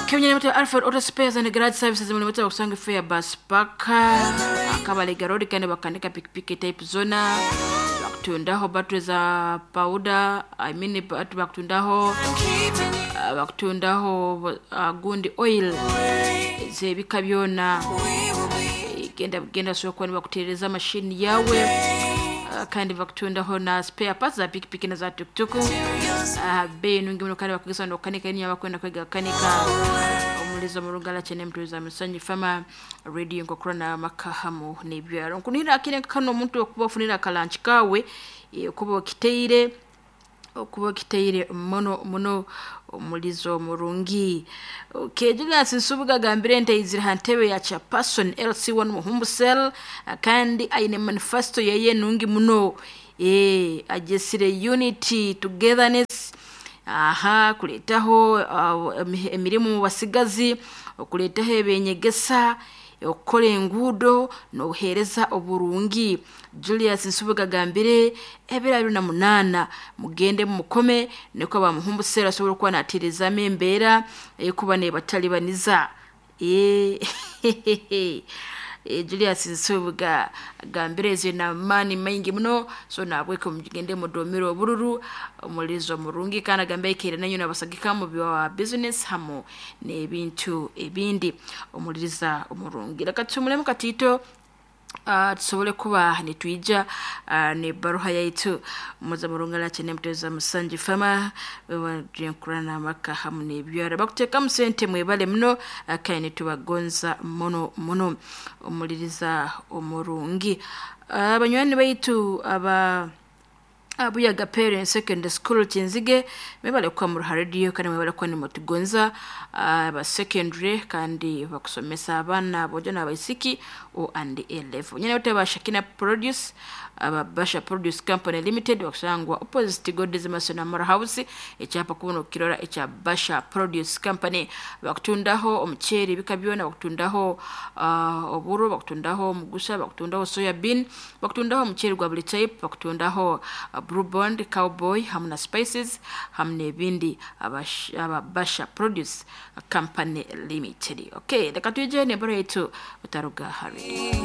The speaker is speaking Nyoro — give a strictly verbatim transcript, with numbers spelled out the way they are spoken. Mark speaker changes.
Speaker 1: Kenya Alfred Auto Spares and Garage Services mulimu bakusanga fair bus park akabalega road, kandi bakanika pikipiki type zona, bakutundaho battery za powder, I mean bakutundaho uh, bakutundaho uh, gundi oil zebika byona. Genda genda sokuba nibakutereza mashini yawe, uh, kandi bakutundaho na spare parts za pikipiki na za tuktuku, uh, bei nungi muno, kandi bakugesa nokukanika niyo abakwenda kwega kanika omulizo murungala kyene mtuza musanyi fama radio nkokurana maka hamu n'ebyaro. Nkunira akire kano omuntu okuba ofunira akalanchi kawe, okuba okiteire okuba okiteire muno muno omulizo murungi. Okay, Julius Nsubuga gambire nti aizire ha ntebe ya chairperson L C one Muhumbu Cell, kandi aine manifesto yeye nungi muno, eh ajesire unity, togetherness, aha kuleetaho uh, emirimu mu basigazi, okuleetaho ebenyegesa, okukora enguudo n'obuheereza oburungi. Julius Nsubuga agambire ebiro abiri na munaana mugende mumukome niko bamuhumbusera asobora okuba naterezamu embeera ekuba nebatalibaniza. Julius Nsubuga agambire ezo namaani maingi muno, so nabweke mugende mudomere obururu omulizo murungi, kandi agambe aikaire nanyo nabasagika mu bya business hamu n'ebintu ebindi omuliriza omurungi. Reka tumulemu katiito, uh, tusobole kuba nitwija uh, nebaruha yaitu muza murungala kyene muteza musanji fama wewajenkurana amaka hamu n'ebyara bakuteekamu sente. Mwebale muno, uh, kandi nitubagonza muno muno omuliriza omurungi. Abanywani uh, baitu aba Abuyaga Parents Secondary School Kinzige, mwebale kuba mu radio kandi mwebale kuba nimutugonza aba secondary, kandi bakusomesa abaana abojo n'abaisiki O and A level. Nyine bate Shakina Produce, aba Basha Produce Company Limited bakusangwa opposite God's Mason Amara House, ekyapa kubono kirora ekya Basha Produce Company. Bakutundaho omuceeri ebika byona, bakutundaho uh, oburo, bakutundaho omugusa, bakutundaho soya bean, bakutundaho omuceeri gwa buli type, bakutundaho uh, Blue Bond, Cowboy hamu na spices hamu n'ebindi, aba Basha Produce Company Limited. Okay, reka tuje n'embaro yaitu utaruga hari.